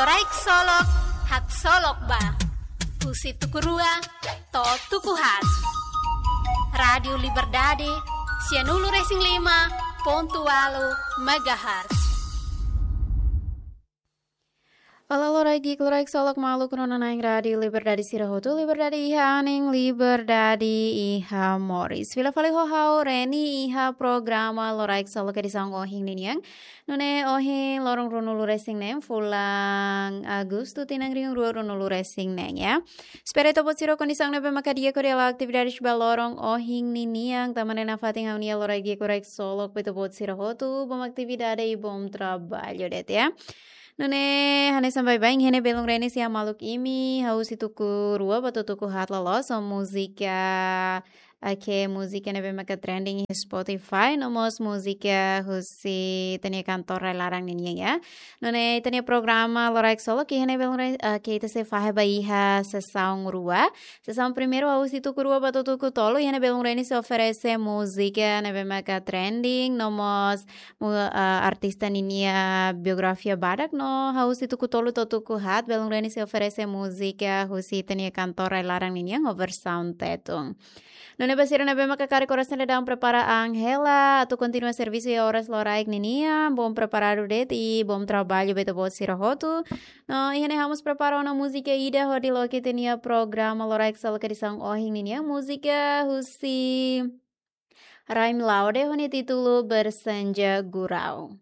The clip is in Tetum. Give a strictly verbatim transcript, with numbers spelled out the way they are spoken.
Loraik Solok, haksolok ba. Husi tuku rua to'o tuku haat. Rádiu Liberdade, sianulu-resin-lima pontu ualu megahertz. Olá, loraik di'ak, loraik solok maluk rona na'in Rádiu Liberdade sira hotu, Liberdade iha anin, Liberdade iha moris. Fila fali ho ha'u Reni iha programa Loraik Solok edisaun ohin ninian. Nune'e ohin loron ruanulu-resin-neen, fulan Agostu, tinan rihun rua ruanulu-resin-neen, ya. Espera ita-boot sira kondisaun ne'ebé maka di'ak hodi halo atividades ba loron ohin ninian, tanba ne'e nafatin ha'u-nia loraik di'ak, loraik solok ba ita-boot sira hotu, bom atividade i bom trabalho de'it, ya. Nune'e hanesan baibain, iha ne'e belun Reni sei hamaluk imi, hahú husi tuku rua ba to'o tuku haat loloos ho múzika, oke, múzika ne'ebé maka trending iha Spotify, no mós múzika husi ita-nia kantór rai-laran ninian, ya. Nune'e ita-nia programa Loraik Solok iha ne'e belun Reni, oke, ita sei fahe ba iha sesaun rua. Sesaun primeiru hahú husi tuku rua ba to'o tuku tolu, iha ne'e belun Reni sei oferese múzika ne'ebé maka trending, no mós mu-, ah, artista ninia biografia badak, no hahú husi tuku tolu to'o tuku haat, belun Reni sei oferese múzika husi ita-nia kantór rai-laran ninian ho versaun Tetun. Nune'e ba sira ne'ebé maka karik oras ne'e daudaun prepara an hela atu kontinua servisu iha oras loraik ninian, bom preparadu de'it i bom trabalho ba ita-boot sira hotu. No iha ne'e ha'u mós prepara ona múzika ida hodi loke ita-nia programa Loraik Solok edisaun ohin ninian, múzika husi Raim Laude ho nia títulu Bersenja Gurau.